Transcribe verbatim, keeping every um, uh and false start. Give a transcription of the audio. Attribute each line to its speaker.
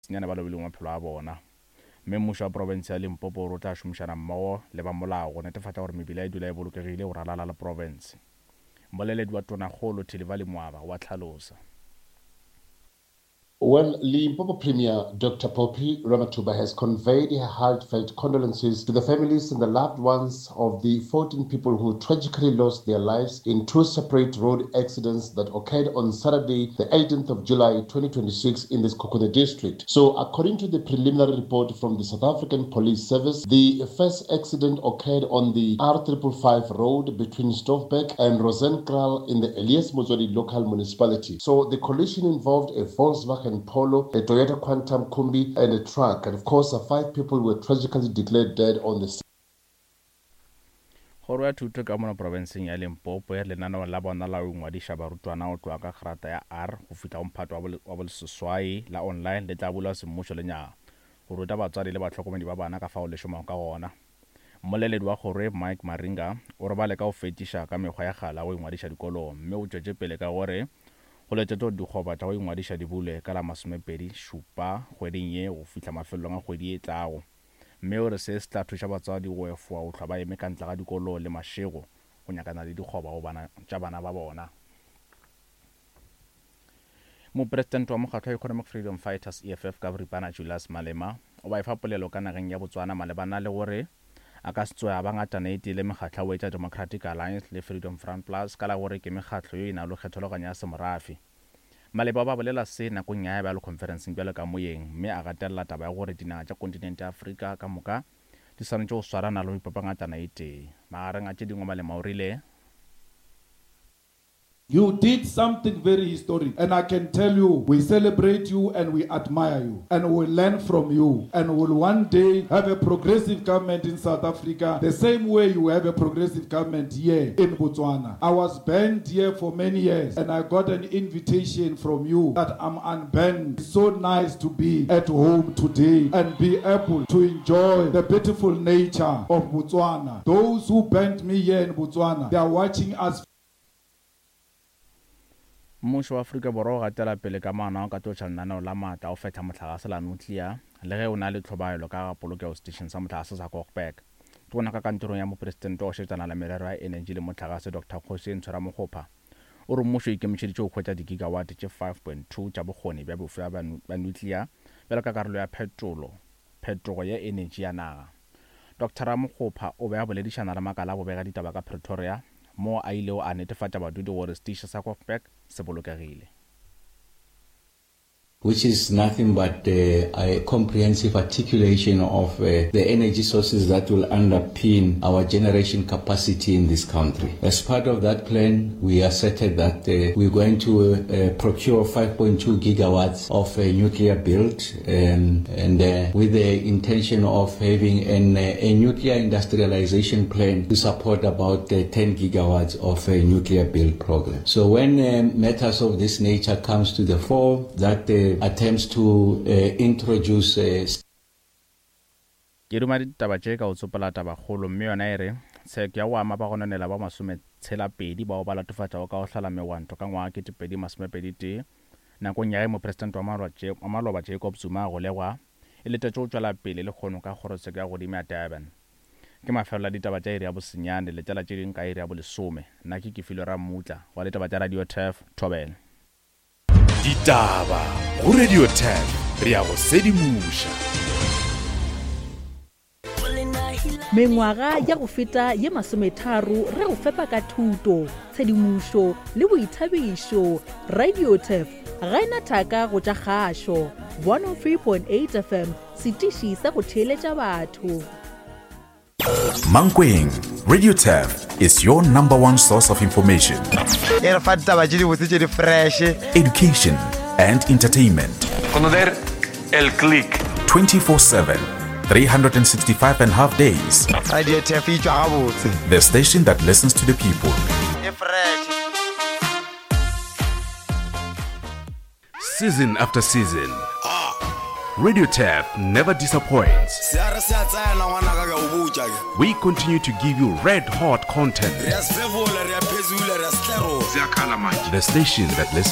Speaker 1: Senyane ba lobilego maphelo a bona. Mme mmušo wa profense ya Limpopo o re o tla šomišana mmogo le ba molao go netefatša gore mebila e dula e bolokegile go ralala le profense. Mmoleledi wa Tonakgolo Thilivhali Mwaba o a hlalosa.
Speaker 2: Well, Limpopo Premier Doctor Phophi Ramathuba has conveyed her heartfelt condolences to the families and the loved ones of the fourteen people who tragically lost their lives in two separate road accidents that occurred on Saturday, the eighteenth of July twenty twenty-six in the Sekhukhune district. So, according to the preliminary report from the South African Police Service, the first accident occurred on the R five five five road between Stoffberg and Rosenkraal in the Elias Motsoaledi local municipality. So, the collision involved a Volkswagen Polo, a Toyota Quantum Kombi, and a truck. And of course, uh, five people were tragically declared dead on the scene.
Speaker 1: Kgoro ya Thuto ka mono profenseng ya Limpopo ya lenaneo la bona la go ingwadiša barutwana go tloga ka grata ya R go fihla go mphato wa boleseswai la online le tla bulwa semmušo lenyaga go ruta batswadi le bahlokomedi ba bana ka fao le šomago ka gona. Mmoleledi wa kgoro Mike Maringa o re ba leka go fetiša ka mekgwa ya kgale ya go ingwadiša dikolong, mme o tšwetše pele ka gore go letetšwe gore dikgoba tša go ingwadiša di bulwe ka la masomepedi šupa kgweding ye go fihla mafelelong a kgwedi e tlago, mme o re se se tla thuša batswadi go efoga go hlwa ba eme ka ntle ga dikolo le mašego go nyakana le dikgoba go bana tša bana ba bona. Mopresidente wa mokgatlo wa Economic Freedom Fighters, E F F ka boripana, Julius Malema o ba efa polelo ka nageng ya Botswana malebana le gore a ka se tsoge a ba ngatana e tee le mekgatlo ya go etša Democratic Alliance le Freedom Front Plus ka la gore ke mekgatlo yo e nago le kgethologanyo ya semorafe. Maleba ba bolela se nakong ya bjalo conferenceng bjalo ka moyeng, mme a gatelela taba ya gore dinaga tša kontinente ya Afrika ka moka di swanetše go swarana le go ipopa ngatana e tee. Magareng a tše dingwe, Malema o rile:
Speaker 3: You did something very historic. And I can tell you, we celebrate you and we admire you. And we learn from you. And we'll one day have a progressive government in South Africa, the same way you have a progressive government here in Botswana. I was banned here for many years, and I got an invitation from you that I'm unbanned. It's so nice to be at home today and be able to enjoy the beautiful nature of Botswana. Those who banned me here in Botswana, they are watching us.
Speaker 1: Mmušo wa Afrika Borwa o gatela pele ka maano a go katološa lenaneo la maatla a go fehla mohlagase la nuclear le ge o na le tlhobaelo ka ga polokego seteišeng sa mohlagase sa Koeberg. Tona ka kantorong ya mopresidente wa go šetšana le merero ya enetši le mohlagase, Doctor Kgosientsho Ramokgopa, o re mmušo o ikemišeditše go hwetša digigawatt tše five point two tša bokgoni bja bofsa bja nuclear bjalo ka karolo ya phetolo phetogo ya enetši ya naga. Doctor Ramokgopa o be a boledišana le makala a bobega ditaba ka Pretoria moo a ilego a netefatša badudi gore seteiši sa Koeberg se bolokegile.
Speaker 4: Which is nothing but uh, a comprehensive articulation of uh, the energy sources that will underpin our generation capacity in this country. As part of that plan, we asserted that uh, we're going to uh, procure five point two gigawatts of uh, nuclear build um, and uh, with the intention of having an, a nuclear industrialization plan to support about uh, ten gigawatts of a nuclear build program. So when um, matters of this nature comes to the fore, that uh, attempts to uh, introduce uh,
Speaker 1: Ke duma ditaba tše ka go tsopola tabakgolo, mme yona e re tsheko ya go ama bagononela ba masometshela pedi bao ba latofatšago ka go hlala megwanto ka ngwaga ketepedi masomepedi tee nakong ya ge mopresidente wa maloba Jacob Zuma a golegwa e letetše go tšwela pele lehono ka kgorotsheko ya godimo ya Durban. Ke mafelelo a ditaba tša iri ya bosenyane. Letela tše dingwe ka iri ya bolesome. Nna ke Kefilwe Rammutla wa ditaba tša Radio Turf Thobela.
Speaker 5: Ditaba go Radio Turf, re ya go sedimoša.
Speaker 6: Mengwaga ya go feta ye masometharo re go fepa ka thuto, tshedimošo le boithabišo. Radio Turf ga e na thaka go tša kgašo. one oh three point eight F M, setiši sa go theeletša batho.
Speaker 5: Mankweng, Radio Turf is your number one source of information,
Speaker 7: E re fa ditaba tše dibotse tše di fresh,
Speaker 5: education, and entertainment.
Speaker 8: Conocer el click.
Speaker 5: twenty-four seven, three hundred sixty-five and a half days.
Speaker 7: Radio Turf e tšwa gabotse.
Speaker 5: The station that listens to the people.
Speaker 7: E fresh.
Speaker 5: Season after season, Radio Turf never disappoints.
Speaker 9: Se a re se a tsena ngwanaka ke a o botša ke.
Speaker 5: We continue to give you red hot content.
Speaker 9: Re a sefefola, re a phezula, re a setlerola.
Speaker 5: The station that listens